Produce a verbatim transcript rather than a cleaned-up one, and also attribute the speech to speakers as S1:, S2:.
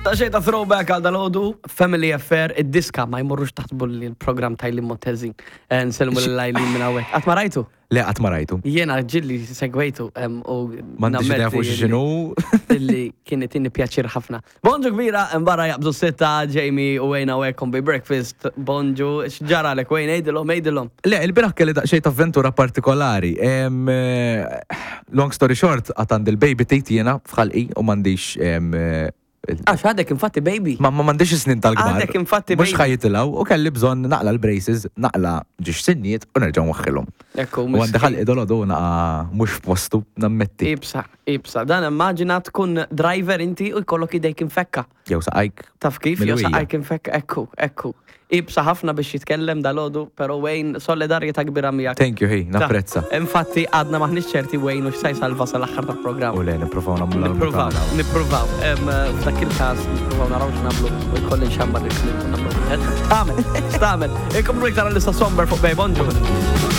S1: Ta' xejn ta' throwback għal dalgħodu, Family Affair, id-diska ma jmorrux taħt bulli l-program ta' Eileen Montezin. Eh, Nsellmu l-Eileen minn hawnhekk. Qatt ma rajtu?
S2: Le, qatt ma rajtu.
S1: Jiena ġieli segwejtu em, u
S2: M'għandix idea fuq
S1: nammetti
S2: x'inhu.
S1: illi kien itini pjaċir ħafna. Bonġu kbira, barra jaqbżu sitta, Jamie u Wayne hawnhekk on Bay Breakfast. Bonġu, x'ġara lek Wayne, għidilhom, għidilhom.
S2: Le, il-bieraħ kelli daqsxejn ta' avventura partikolari. Em, eh, Long story short, għad għandi il-baby teeth jiena f'ħalqi u m'għandix em, eh,
S1: Għax għadek infatti baby.
S2: Ma ma m'għandix snin tal-kbar.
S1: Għadek infatti
S2: Mhux
S1: baby.
S2: ħa jitilgħu u kelli bżonn naqla' l-braces, naqla' żewġ sinniet u nerġa' nwaħħilhom.
S1: Ekku,
S2: U għandi ħalqi dalgħodu naqa mhux f'postu, nammetti.
S1: Ibsa, ibsa. Dan immaġina tkun driver inti u jkollok idejk infekka.
S2: Jew saqajk.
S1: Taf kif, jew
S2: Milwija.
S1: saqajk infekka, ekku, ekku. Ibsa ħafna biex jitkellem dalgħodu, pero Wayne, solidarjetà kbira miegħek.
S2: Thank you, hey, napprezza.
S1: Infatti, għadna m'aħniex ċerti Wayne u x'sa jsalva sal-aħħar tal-programm.
S2: U le, nippruvaw nagħmlu
S1: Nippruvaw,
S2: l-almu
S1: nippruvaw. Em, F'dak il-każ, nippruvaw naraw x'nagħmlu u jkolli nxambar il-klip u nagħmlu. X'tagħmel, x'tagħmel. Ikomplu iktar għal-lista somber fuq Bay Bonġu.